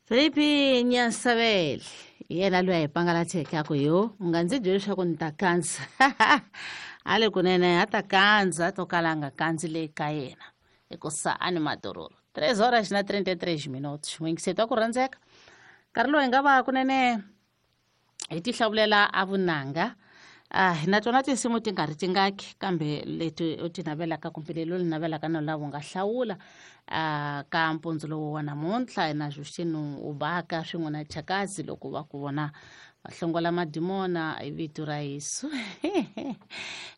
Felipe Nyansabeli hi yena loyi a hi pangalatheke a ku yo u nga ndzi byeli leswaku ni ta kandza a le kunene a ta kandza to kala a nga kandzi le ka yena hikusa a ni madororo 3 horas na 33 minutos n'wingiseti wa ku rhandzeka nkarhi lowu hi nga va kunene hi ti hlawulela a vunanga hi na tona tinsimu ti nga ri tingaki kambe leti u ti navelaka kumbe leli u li navelaka na lava u nga hlawula ka mpundzu lowu wa namuntlha na Justino Ubaka swin'we na Chakazi loko va ku vona va hlongola madimona hi vito ra Yesu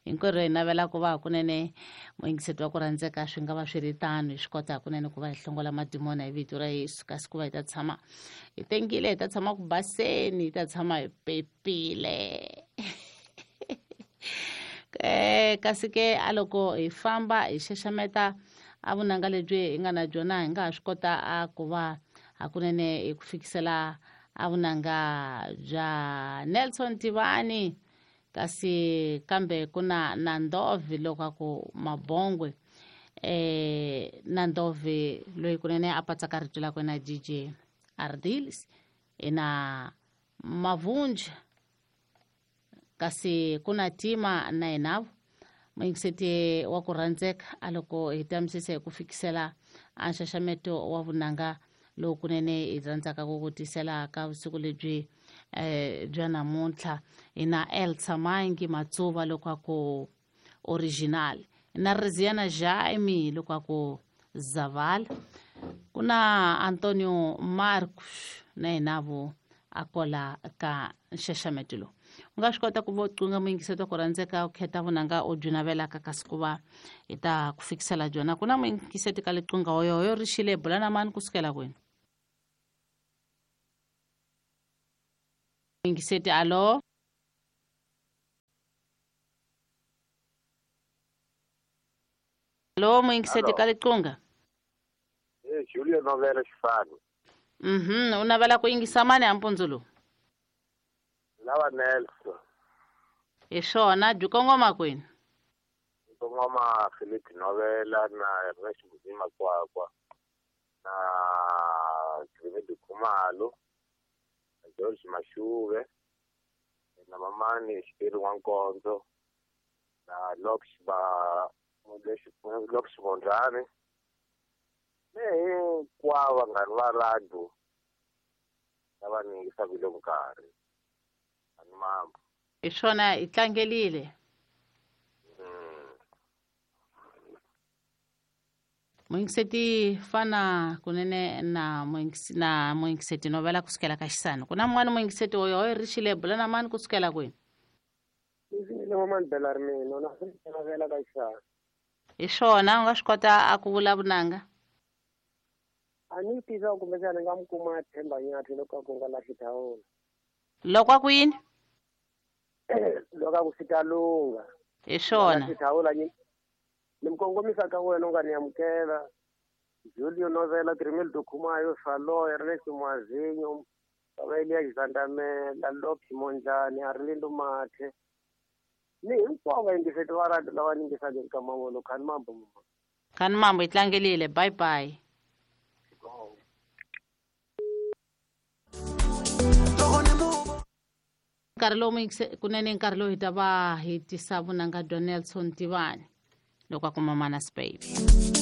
hinkwerhu hi navela ku va hakunene muyingiseti wa ku rhandzeka swi nga va swi ri tano hi swi kota hakunene ku va hi hlongola madimona hi vito ra Yesu kasi ku va hi ta tshama hi tengile hi ta tshama ku baseni hi ta tshama hi pepile kasi ke a loko hi famba hi xaxameta a vunanga lebyi hi nga na byona hi nga ha swi kota a ku va hakunene hi ku fikisela a vunanga bya Nelson Tivani kasi kambe ku na na Ndovi loko a ku Mabongwe na Ndovi loyi kunene a patsaka rito lakwe na DJ Ardilis ina Mavunja kasi ku na Tima na yenavo muyingiseti wa ku rhandzeka a loko hi tamisisa hi ku fikisela a nxaxameto wa vunanga lowu kunene hi rhandzaka ku ku tisela ka vusiku lebyi bya namuntlha hi na Elsa Mangi Matsuva loko a ku original na Riziana Jaime loko a ku Zavala ku na Antonio Marcos na yenavo a kola ka nxaxameto lowu u nga swi kota ku va u qunga muyingiseti wa ku rhandzeka u khetha vunanga u byi navelaka kasi ku va hi ta ku fikisela byona ku na muyingiseti ka liqunga woyoyo ri xile bula na mani kusukela kwini muyingiseti alo alo muyingiseti ka liqunga Julio Novela Xifani u navela ku yingisa mani a mpundzu lowu lava Nelson hi swona byi kongoma kwini kongoma Philip Novela na Ernest Muzima Kwakwa na Gremedi Khumalo na George Mashuve na Mamani Xipiri N'wankondzo na Lox ba Lox Mondlane ni hinkwavo vanghani va radio lava ni yingisaka le nkarhi ani mambo hi swona hi tlangelile muyingiseti fana kunene na na muyingiseti Novela kusukela ka Xisani ku na mun'wana muyingiseti oyo ri xile bula na mani kusukela kwini hi swona u nga swi kota a ku vula vunanga a ni tiva kumbexana ni nga mi kuma Themba Nyathi loko a ku nga lahli thawula loko a ku yini loko a ku swi ta lungha hi swona thawula ni mi kongomisa ka wena u nga ni amukela Julio Novela Grimildo Khumayo Saloy Ernest Mwazinyo Vavelia Xandamela Lox Mondlane Arlindo Mathe ni hinkwavo vayingiseti va radio lava yingisaka eka mavolo khani mambo mama khani mambo hi tlangelile bye bye nkarhi lowu kunene nkarhi lowu hi ta va hi tisa vunanga bya Nelson Tivani loko a kuma Manas Baby.